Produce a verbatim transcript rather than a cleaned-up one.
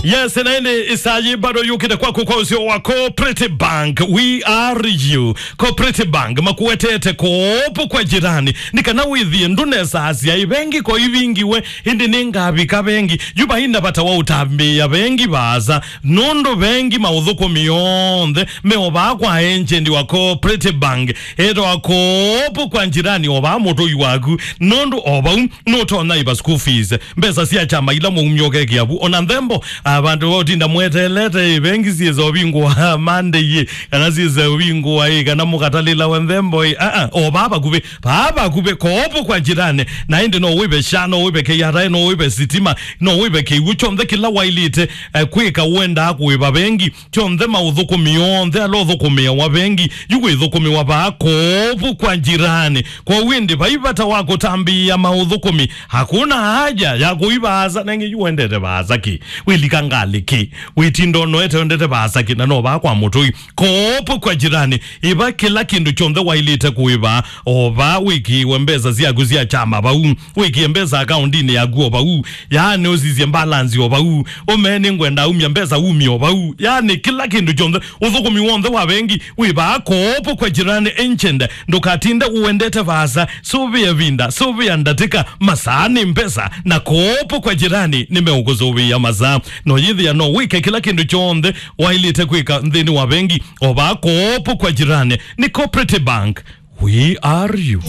Yes, na ĩndĩ ĩsaa yĩ bado yũkĩte kwaku kwa ũseo wa Cooperative Bank. We are you. Cooperative Bank makuetete kopo kwa jirani. Nĩ kana wĩthĩe ndũnesaasya ĩ vengi ko ivingiwe, ĩndĩ nĩngavika vengi. Yu vaina vata wa ũtambĩĩa vengi vaasa, nũndũ vengi maũthũkũmi onthe meovaa kwa agent wa Cooperative Bank. Etawa kopo kwa jirani ovaa mũtũi waku, nũndũ o vau nũtonya ĩva school fees, mbesa sya kyama ila mwaumya ũkekĩa vu. Ona nthembo, ah, vandũ va ũtinda mweteelete ĩ, vengi syĩsa ũvingũa Monday ĩ, kana syĩsa ũvingũa ĩ, kana mũkatalĩlawa nthembo ĩ, ah, ah, o vaa vakuvĩ, vaa vakuvĩ, kopo kwa jirani. Na ĩndĩ no wĩve sha, no wĩve K R A, no wĩve sitima, no wĩve kĩw'ũ, kyonthe kĩla wailĩte, eh, kwĩka, ũendaa kũĩva vengi, kyonthe maũthũkũmi onthe ala ũthũkũmĩawa vengi, yu wĩthũkũmĩwa vaa kopo kwa jirani. Kwoou ĩndĩ vai vata wa kũtambĩĩa maũthũkũmi, hakuna haja ya kũi vaasa. Nengĩ yu wendete vaasa kĩ? Wĩlika ngalĩ kĩ? Wĩtinda ũnoete wendete vaasa kĩ? Na no vaa kwa mũtũi. Kopo kwa jirani, ĩva kĩla kĩndũ kyonthe wailĩte kũĩva, o vaa wĩkĩĩwe mbesa syaku sya kyama vau, wĩkĩe mbesa akaundinĩ yaku o vau, yaani ũsisye balance o vau, ũmee nĩngwenda aumya mbesa umye o vau, yaani kĩla kĩndũ kyonthe, ũthũkũmi w'onthe wa vengi wĩ vaa kopo kwa jirani agent. Ndũkatinde ũendete vaasa, sũvĩa ĩvinda, sũvĩa ndatĩka, masaa nĩ mbesa, na kopo kwa jirani nĩmeũkũsũvĩa masaa. No yĩthĩa no wĩke kĩla kĩndũ kyonthe wailĩte kwĩka nthĩnĩ wa vengi, o vaa kopo kwa jirani. Nĩ Cooperative Bank. We are you.